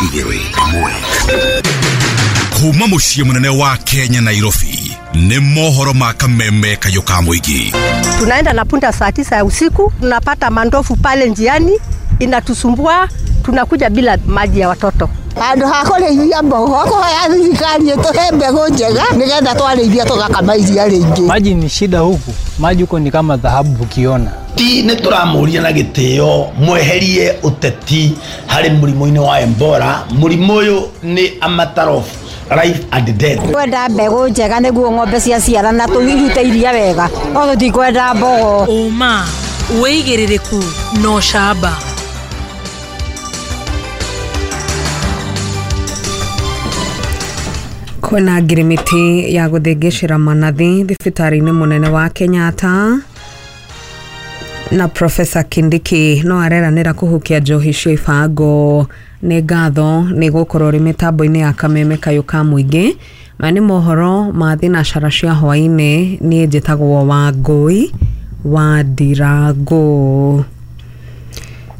2 1. Kuma muciĩ mũnene wa Kenya Nairobi nĩ mohoro ma kameme kayũ ka mũingĩ. Tunaenda na punda saa 9 ya usiku, tunapata mandofu pale njiani inatusumbua, tunakuja bila maji ya watoto. Andu hakurĩithia mbogo kũhoya thirikari ĩtũhe mbegũ njega nĩgetha twarĩithia tũgakama iria rĩingĩ. Maji ni shida huku, maji huko ni kama dhahabu ukiona. Ti nĩ tũramũria na gĩtĩo mweherie ũteti harĩ mũrimũ-inĩ wa Ebola. Mũrimũ ũyũ nĩ a matter of life and death. Kwenda mbegũ njega nĩguo ng'ombe ciaciarana tũirute iria wega, no tũtikwenda mbogo. Ũma, wĩigĩrĩrĩku na ũcamba. Kwĩna ngirimiti ya gũthĩngĩcĩra manathi thibitarĩ-inĩ mũnene wa Kenyatta na Professor Kindiki no areranĩra kũhukia njohi cia ibango. Nĩ ngatho nĩ gũkorwo rĩ mĩtambo-inĩ ya kameme kayũ ka mũingĩ. Maya nĩ mohoro ma thinacara cia hwaĩ-inĩ. Niĩ njĩtagwo Wangũi wa Ndirango.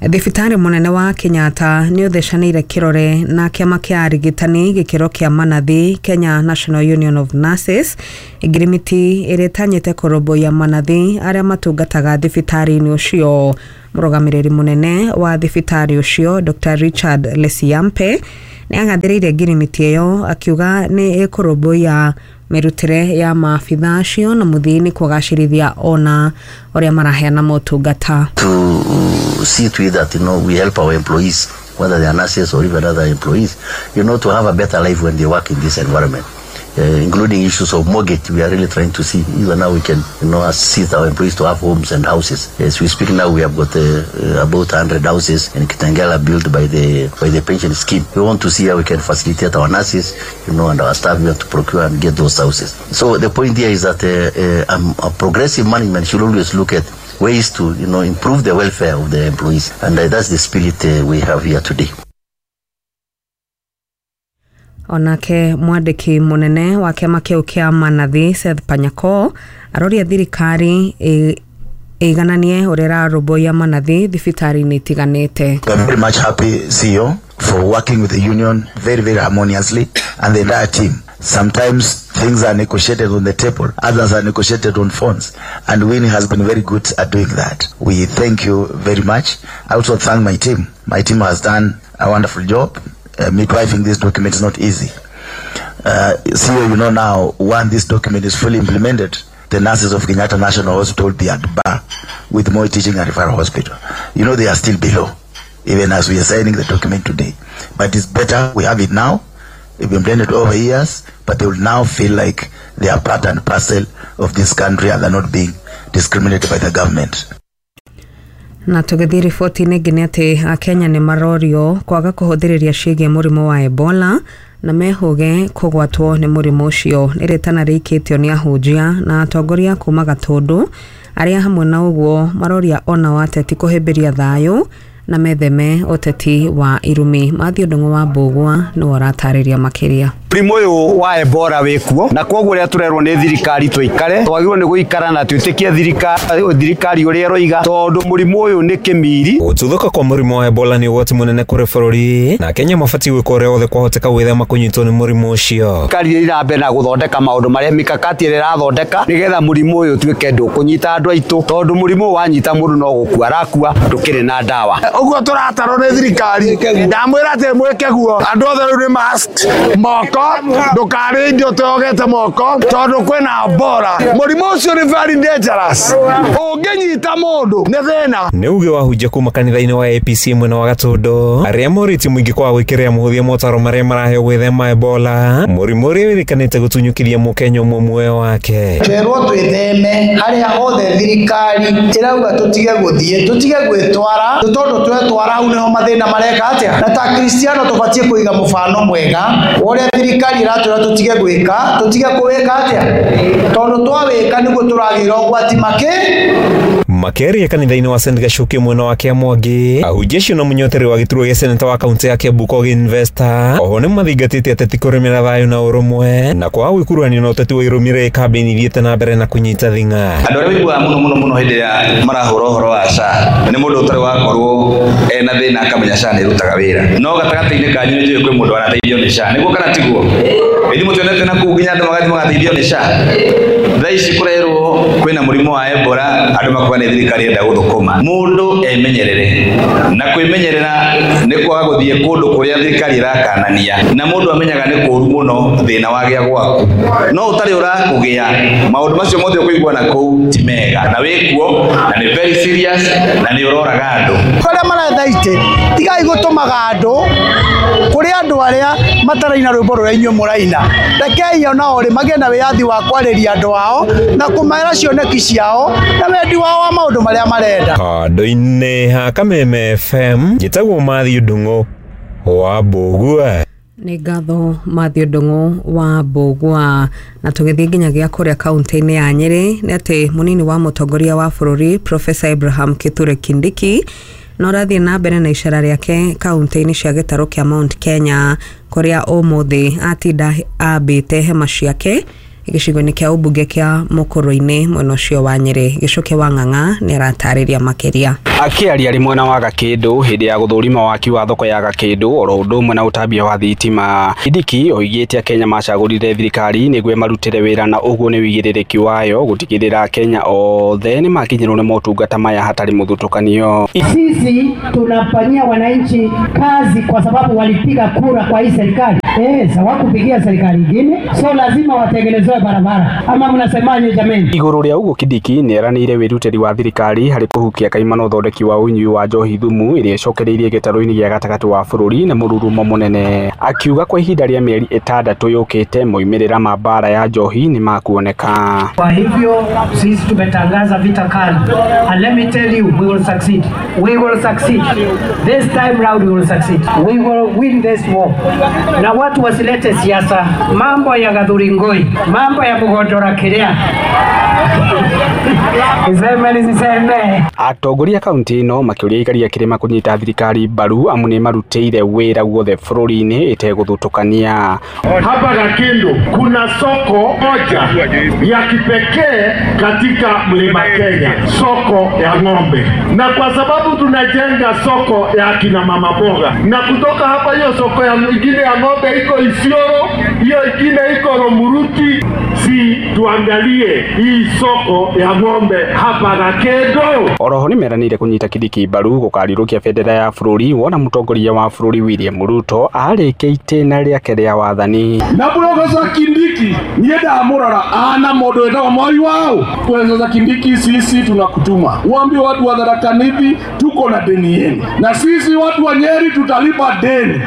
Thibitarĩ mũnene wa Kenyatta nĩ ũthecanĩire kĩrore na kĩama kĩa arigitani gĩkĩro kĩa manathi Kenya National Union of Nurses. Ngirimiti ĩrĩa ĩtanyĩte kũrũmbũiya manathi arĩa matungataga thibitarĩ-inĩ ũcio. Mũrũgamĩrĩri mũnene wa thibitarĩ ũcio Dr. Richard Lesiampe nĩ agathĩrĩirie ngirimiti ĩyo akiuga nĩ ĩkũrũmbũiya mĩrutĩre ya maabitha acio na mũthia-inĩ kũgacĩrithia ona ũrĩa maraheana motungata. To see to it that, you know, we help our employees, whether they are nurses or even other employees, you know, to have a better life when they work in this environment. Including issues of mortgage, we are really trying to see even now we can, you know, assist our employees to have homes and houses. As we speak now, we have got about 100 houses in Kitengela built by the pension scheme. We want to see how we can facilitate our nurses, you know, and our staff here to procure and get those houses. So the point here is that a progressive management should always look at ways to, you know, improve the welfare of the employees, and that's the spirit we have here today. Onake mwandĩki mũnene wa kĩama kĩu kĩa manathi Seth Panyako aroria thirikari ĩigananie ũrĩa ĩrarũmbũiya manathi thibitarĩ-inĩ itiganĩte. We are very much happy, CEO, for working with the union very, very harmoniously and the entire team. Sometimes things are negotiated on the table, others are negotiated on phones, and Winnie has been very good at doing that. We thank you very much. I also thank my team. My team has done a wonderful job. Midwifing this document is not easy. CEO, you know now, when this document is fully implemented, the nurses of Kenyatta National Hospital will be at bar with Moi Teaching and Referral Hospital. You know, they are still below, even as we are signing the document today. But it's better we have it now. It's been implemented over years, but they will now feel like they are part and parcel of this country and they're not being discriminated by the government. Na tũgĩthiĩ riboti-inĩ ĩngĩ nĩ atĩ Akenya nĩ marorio kwaga kũhũthĩrĩria ciĩgiĩ mũrimũ wa Ebola na mehũge kũgwatwo nĩ mũrimũ ũcio. Nĩ rĩtana rĩikĩtio nĩ ahunjia na atongoria kuma Gatũndũ arĩa hamwe na ũguo maroria ona wa ateti kũhĩmbĩria thayũ na metheme ũteti wa irumi. Matthew Ndung'u wa Mbũgua nĩwe ũratarĩria makĩria. Mũrimũ ũyũ wa Ebola wĩkuo na koguo ũrĩa tũrerwo nĩ thirikari tũikare twagĩrĩirwo nĩ gũikara na twĩtĩkie thirikari ũrĩa ĩroiga tondũ mũrimũ ũyũ nĩ kĩmiri. Gũtuthũka kwa mũrimũ wa Ebola nĩ ũgwati mũnene kũrĩ bũrũri na Kenya mabatiĩ gwĩka ũrĩa wothe kwahoteka gwĩthema kũnyitwo nĩ mũrimũ ũcio. Thirikari ĩrathiĩ mbere na gũthondeka maũndũ marĩa mikakati ĩrĩa ĩrathondeka nĩgetha mũrimũ ũyũ ũtuĩke ndũkũnyita andũ aitũ tondũ mũrimũ ũyũ wanyita mũndũ no gũkua arakua ndũkĩrĩ na ndawa. Ũguo tũratarwo nĩ thirikari ndamwĩra atĩ mwĩke guo andũ othe rĩu nĩ mask moko ndũkarĩe indo ũtogete moko tondũ kwĩna Ebola. Mũrimũ ũcio nĩ very dangerous, ũngĩnyita mũndũ nĩ thĩna. Nĩ uge wa hunjia kuma kanitha-inĩ wa APC mwena wa Gatũndũ arĩa morĩtie mũingĩ kwaga gwĩkĩrĩra mũhũthia motaro marĩa maraheo gwĩthema Ebola, mũrimũ ũrĩa wĩrĩkanĩte gũtunyũkĩria mũkenya ũmwe muoyo wake. Twerwo twĩtheme harĩa hothe thirikari ĩrauga tũtige gũthiĩ tũtige gwĩtwara tondũ twetwara hau nĩho mathĩna mareka atĩa, na ta Kristiano tũbatiĩ kũiga mũbano mwega wa ũrĩa thirikari ĩratwĩra tũtige gwĩka tũtige kũwĩka atĩa tondũ twawĩka nĩguo tũragĩra ũgwati makĩ. Makĩaria kanitha-inĩ wa St Gacuki mwena wa Kĩamwangi, ahunjia acio na mũnyoteri wa gĩturwa gĩa seneta wa kaunti ya Kiambu Kogi Investor oho nĩmathingatĩte ateti kũrĩmĩra thayũ na ũrũmwe na kwaga gwĩkuruhania na ũteti wa irũmĩrĩri kambĩini ithiĩte na mbere na kũnyita thing'a. Andũ arĩa maiguaga mũno mũno mũno hĩndĩ ĩrĩa marahũra ũhoro wa SHA nĩ mũndũ ũtarĩ wakorwo ena thĩna akamenya SHA nĩ ĩrutaga wĩra, no gatagatĩ-inĩ kanyu nĩ njũĩ kwĩ mũndũ wanateithio nĩ SHA, nĩguo kana tiguo? Ithuĩ mũtionete na kũu nginya andũ magathiĩ magateithio nĩ SHA. Thaa ici kũrerwo kwĩna mũrimũ wa Ebola, andũ makuga nĩ thirikari ĩrenda gũthũkũma. Mũndũ emenyerere, na kwĩmenyerera nĩ kwaga gũthiĩ kũndũ kũrĩa thirikari ĩrakanania, na mũndũ amenyaga nĩ kũũru mũno thĩna wagĩa gwaku, no ũtarĩ ũrakũgĩa maũndũ macio mothe ũkũigua na kũu ti mega, na wĩkuo na nĩ very serious na nĩ ũroraga andũ. Arĩa maretha itĩ tigai gũtũmaga andũ kũrĩ andũ arĩa mataraina rwĩmbo rũrĩa inyuĩ mũraina. Rekei onao rĩ magĩe na wĩyathi wa kwarĩria andũ ao na kũmera cioneki ciao na wendi wao wa maũndũ marĩa marenda. Handũ-inĩ ha Kameme FM, njĩtagwo Matthew Ndung'u wa Mbũgua. Nĩ ngatho Matthew Ndung'u wa Mbũgua. Na tũgĩthiĩ nginyagia kũrĩa kaunti-inĩ ya Nyĩrĩ nĩ atĩ mũnini wa mũtongoria wa bũrũri Professor Abraham Kithure Kindiki no ũrathiĩ na mbere na icera rĩake kaunti-inĩ cia gĩtarũ kĩa Mount Kenya kũrĩa ũmũthĩ atinda ambĩte hema ciake gĩcigo-inĩ kĩa ũmbunge kĩa Mũkũrũ-inĩ mwena ũcio wa Nyĩrĩ. Gĩcuke wa Ng'ang'a nĩ aratarĩria makĩria. Akĩaria arĩ mwena wa Gakĩndũ hĩndĩ ya gũthũrima waki wa thoko ya Gakĩndũ oro ũndũ ũmwe na ũtambia wa thitima, Kindiki oigĩte Akenya macagũrire thirikari nĩguo ĩmarutĩre wĩra na ũguo nĩ ũigĩrĩrĩki wayo gũtigĩrĩra Akenya othe nĩmakinyĩrwo nĩ motungata maya hatarĩ mũthutũkanio. Sisi tunafanyia wananchi kazi kwa sababu walipiga kura kwa hii serikali. Hawakupigia serikali ingine, so lazima watengenezewe barabara. Ama mnasemaje jameni? Igũrũ rĩa ũguo Kindiki nĩeranĩire wĩrutĩri wa thirikari harĩ kũhukia kaimana ũthondeki wa ũnyui wa njohi thumu ĩrĩa ĩcokereirie gĩtarũ-inĩ gĩa gatagatĩ wa bũrũri na mũrurumo mũnene, akiuga kwa ihinda rĩa mĩeri 6 yũkĩte moimĩrĩra ma mbara ya njohi nĩ makuoneka. Kwa hivyo sisi tumetangaza vita kali, and let me tell you, we will succeed. We will succeed. This time round we will succeed. We will win this war. Na watu wasilete siasa, mambo ya Gathuri-Ngoi, mambo ya Mugondora kiria. Atongoria kaunti ĩno makĩũria aikari a kĩrĩma kũnyita thirikari mbaru amu nĩ marutĩire wĩra guothe bũrũri-inĩ ĩtegũthutũkania. Hapa Gakindu kuna soko moja ya kipekee katika Mlima Kenya, soko ya ng'ombe, na kwa sababu tunajenga soko ya kina mama boga, na kutoka hapa hiyo soko ya ingine ya ng'ombe iko Isiolo, hiyo ingine iko Romuruti. Si tuangalie hii soko ya ng'ombe hapa Gakindu. Oroho nĩmeranĩire kũnyita Kindiki mbaru gũkarirũkia bendera ya bũrũri wona mũtongoria wa bũrũri William Ruto arĩkia itĩna rĩake rĩa wathani. Na Profesa Kindiki niĩ ndamũrora ana mũndũ wĩtagwo Moi wao. Profesa Kindiki, sisi tunakutuma uambie watu wa Tharaka Nithi tuko na deni yenu, na sisi watu wa Nyeri tutalipa deni,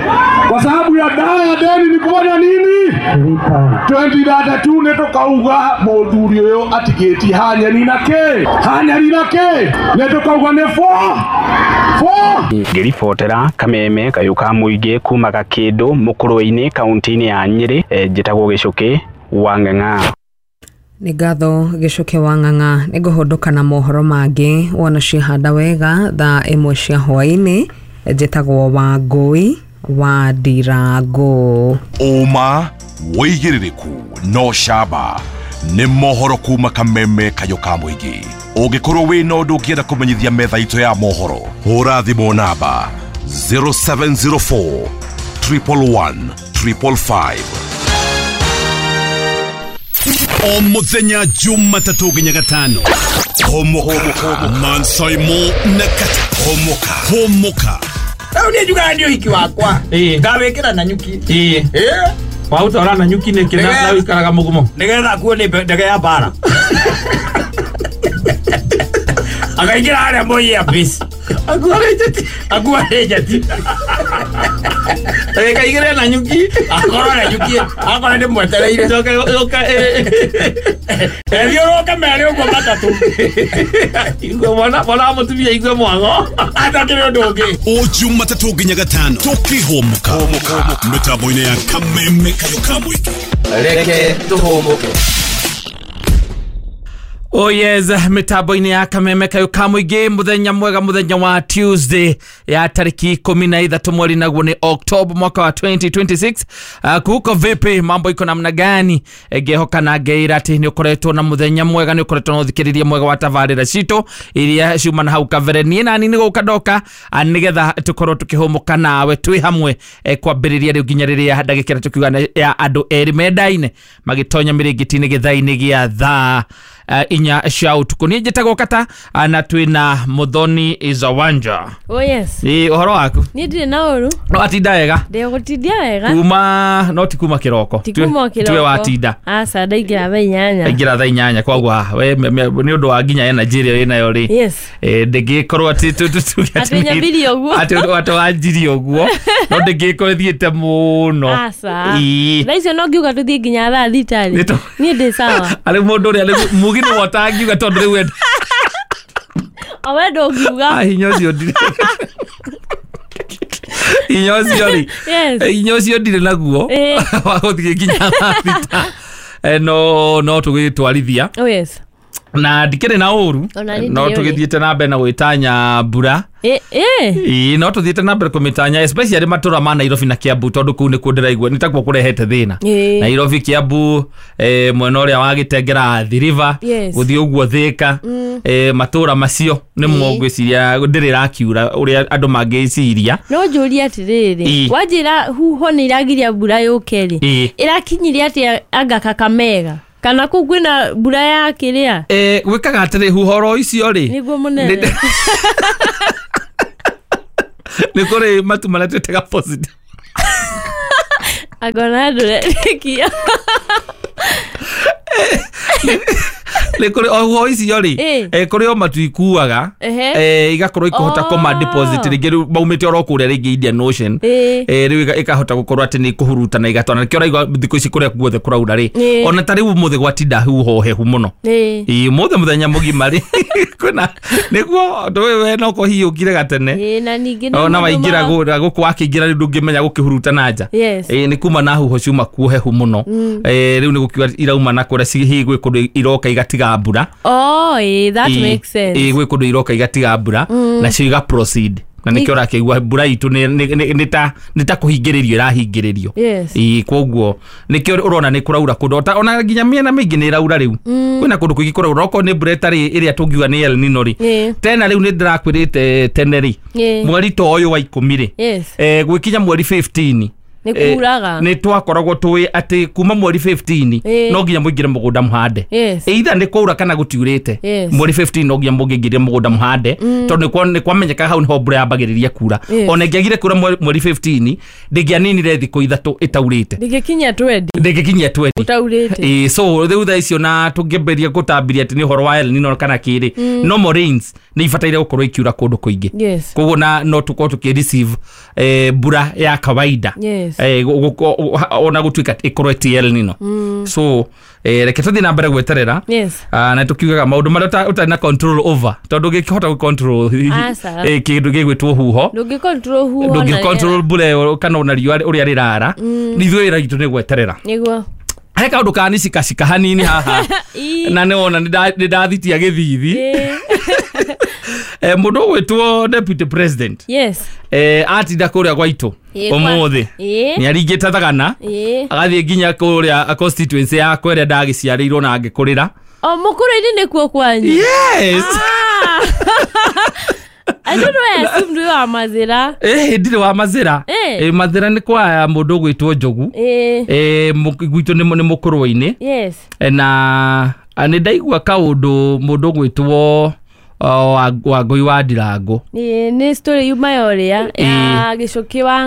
kwa sababu ya dawa ya deni ni kufanya nini? 2032 nĩ tũkauga mũthuri ũyũ atigĩtie hanyeri na kĩ, hanyeri na kĩ, nĩ tũkauga nĩ 4 4. Ngĩribotera Kameme kayũ ka mũingĩ kuma Gakĩndũ Mũkũrũ-inĩ kaunti-inĩ ya Nyĩrĩ, njĩtagwo Gĩcũkĩ wa Ng'ang'a. Nĩ ngatho Gĩcũkĩ wa Ng'ang'a. Nĩ ngũhũndũka na mohoro mangĩ wona ciahanda wega thaa 1 cia hwaĩ-inĩ. Njĩtagwo Wangũi wa Ndirango. Ũma wĩigĩrĩrĩku no camba nĩ mohoro kuma Kameme kayũ ka mũingĩ. Ũngĩkorwo wĩna ũndũ ũngĩenda kũmenyithia metha itũ ya mohoro, hũra thimũ namba 0704 111 555. O mũthenya Jumatatũ nginya Gatano, Homoka Mansaimo na Kata. Homoka Homoka. Rĩu niĩ njugaga nĩ ũhiki wakwa ngawĩkĩra na nyuki. Waũtwara na nyuki nĩkĩ na ũikaraga mũgumo nĩgetha akuo nĩ ndege ya mbara akaingĩra harĩa Moi Airways akua nĩ njeti Ekaigĩre na nyuki akorwo na nyuki akorwo nĩ mwetereire ethiũrũke merĩ ũguo matatũ igue mwana mwana mũtumia igue mwago atakĩrĩ ũndũ ũngĩ. O Jumatatũ nginya Gatano tũkĩhũmũka mĩtambo-inĩ ya Kameme kayũ ka mũingĩ. Reke tũhũmũke. Oh yes, mitambo-inĩ ya Kameme Kayũ ka Mũingĩ, mũthenya mwega, mũthenya wa Tuesday ya tariki 13 mweri naguo nĩ October mwaka wa 2026. Kuko vipi, mambo iko namna gani? Ngehoka na ngeira atĩ nĩ ũkoretwo na mũthenya mwega, nĩ ũkoretwo na ũthikĩrĩria mwega wa tabarĩra citũ iria ciuma na hau kabere. Niĩ nani nĩ gũka ndoka nĩgetha tũkorwo tũkĩhũmũka nawe twĩ hamwe, kwambĩrĩria rĩu nginya rĩrĩa ndagĩka ĩrĩa tũkiuga ya andũ erĩ mendaine magĩtonya mĩrĩngĩti-inĩ gĩthaa-inĩ gĩa thaa 4 cia ũtukũ. Niĩ njĩtagwo Kata na twĩna Muthoni Zawanja. Oh yes. Ĩ ũhoro waku? Niĩ ndirĩ na ũru. No atinda wega? Ndĩgũtindia wega. Kuma no ti kuma kĩroko. Ti kuma kĩroko. Tuwe watinda. Aca ndaingĩra thaa 8. Ndaingĩra thaa 8 koguo we nĩ ũndũ wa nginya energy ĩrĩa wĩnayo rĩ. Yes. Ndĩngĩkorwo atĩ tuge atĩ nyambirie ũguo. Atĩ wanjirie ũguo. No ndĩngĩkorwo ĩthiĩte mũno. Aca. Thaa icio no ngiuga tũthiĩ nginya thaa 6 rĩ. Niĩ ndĩ sawa. Arĩ mũndũ ũrĩa mugi nĩ wotangiuga tondũ rĩu wenda. O we ndũngiuga. Hinya ũcio ndirĩ. Hinya ũcio rĩ. Hinya ũcio ndirĩ naguo. Wa gũthiĩ nginya thaa 6. No tũgĩtwarithia. Oh yes. Na ndikĩrĩ na ũru. No tũgĩthiĩte na mbere na gwĩtanya mbura. Ĩĩ no tũthiĩte na mbere kũmĩtanya especially matũra ma Nairobi na Kiambu tondũ kũu nĩkuo ndĩraigua nĩ takuo kũrehete thĩna. Nairobi, Kiambu, mwena ũrĩa wa Gĩtengera, Athi River, gũthiĩ ũguo Thĩka, matũra macio nĩmo ngwĩciria ndĩrĩ ĩrakiura ũrĩa andũ mangĩciria. No njũrie atĩrĩrĩ, wanjĩra huho nĩ iragiria mbura yũke rĩ, ĩrakinyirie atĩa anga Kakamega? Kana kũu kwĩna mbura ya kĩrĩa? Gwĩkaga atĩrĩ huhoro icio rĩ. Nĩguo mũnene. Nĩ kũrĩ matu marĩa twĩtaga positive. Angona ndũretĩkia. Nĩ kũrĩ o huho icio rĩ, kũrĩ o matu ikuaga, igakorwo ikũhota kũma deposit rĩngĩ rĩu maumĩte oro kũrĩa rĩngĩ Indian Ocean, rĩu ĩkahota gũkorwo atĩ nĩ ĩkũhuruta na igatwara. Nĩkĩo ũraigua thikũ ici kũrĩa guothe kũraura rĩ, ona ta rĩu ũmũthĩ gwatinda huho hehu mũno. Ĩĩ ũmũthĩ mũthenya mũgima rĩ, kwĩna nĩguo we no kũhiũkire gatene. Ona waingĩra gũkũ wakĩingĩra rĩu ndũngĩmenya gũkĩhuruta na nja. Ĩĩ nĩ kuma na huho ciuma kuo hehu mũno. Rĩu nĩ gũkiuga irauma na kũrĩa hihi gwĩ kũndũ iroka igatiga mbura. Oh, that makes sense. Gwĩ kũndũ iroka igatiga mbura nacio iga proceed. Na nĩkĩo ũrakĩigua mbura itũ nĩ ta kũhingĩrĩrio ĩrahingĩrĩrio. Ĩĩ koguo nĩkĩo ũrona nĩ kũraura kũndũ ona nginya mĩena mĩingĩ nĩ ĩraura rĩu. Kwĩna kũndũ kũingĩ kũraura okorwo nĩ mbura ĩtarĩ ĩrĩa tũngiuga nĩ El Nino rĩ. Tena rĩu nĩ ndĩrakwĩrĩte tene rĩ. Mweri ta ũyũ wa 10 rĩ. Gwĩkinya mweri 15 nĩ kuraga. Nĩ twakoragwo tũĩ atĩ kuma mweri 15 no nginya mũingĩre mũgũnda mũhande. Either nĩ kwaura kana gũtiurĩte. Mweri 15 no nginya mũngĩingĩre mũgũnda mũhande tondũ nĩ kwamenyeka hau nĩho mbura yambagĩrĩria kura. Ona ĩngĩagire kura mweri 15 ndĩngĩaninire thikũ 3 ĩtaurĩte. Ndĩngĩkinyia 20. Ndĩngĩkinyia 20. Ũtaurĩte. So rĩu thaa icio na tũngĩambĩrĩria gũtambiria atĩ nĩ ũhoro wa El Nino kana kĩrĩ, no more rains nĩ ibataire gũkorwo ikiura kũndũ kũingĩ. Koguo na no tũkorwo tũkĩ receive mbura ya kawaida. Ona gũtuĩka ĩkorwo ti El Nino. So reke tũthiĩ na mbere gweterera. Na tũkiugaga maũndũ marĩa ũtarĩ na control over tondũ ũngĩkĩhota gũ control kĩndũ gĩgwĩtwo huho, ndũngĩ control huho, ndũngĩ control mbura ĩyo kana ona riũa ũrĩa rĩrara. Ithuĩ wĩra witũ nĩ gweterera. Nĩguo. He kaũndũ kanicikacika hanini haha na nĩwona nĩ ndathitia gĩthithi. Mũndũ ũgwĩtwo deputy president atinda kũrĩa gwaitũ ũmũthĩ nĩ aringĩte thagana agathiĩ nginya kũrĩa constituency yakwa ĩrĩa ndagĩciarĩirwo na ngĩkũrĩra. O mũkũrũ-inĩ nĩkuo kwanyu? Yes. I don't know, I assumed we were Mazira. Ndirĩ wa Mazira. Mazira nĩ kwa mũndũ ũgwĩtwo Njogu. Gwitũ nĩ mũkũrũ-inĩ. Yes. Na nĩ ndaigua kaũndũ mũndũ ũgwĩtwo Wangũi wa Ndirango. Nĩ story yuma ya ũrĩa ya Gĩcũkĩ wa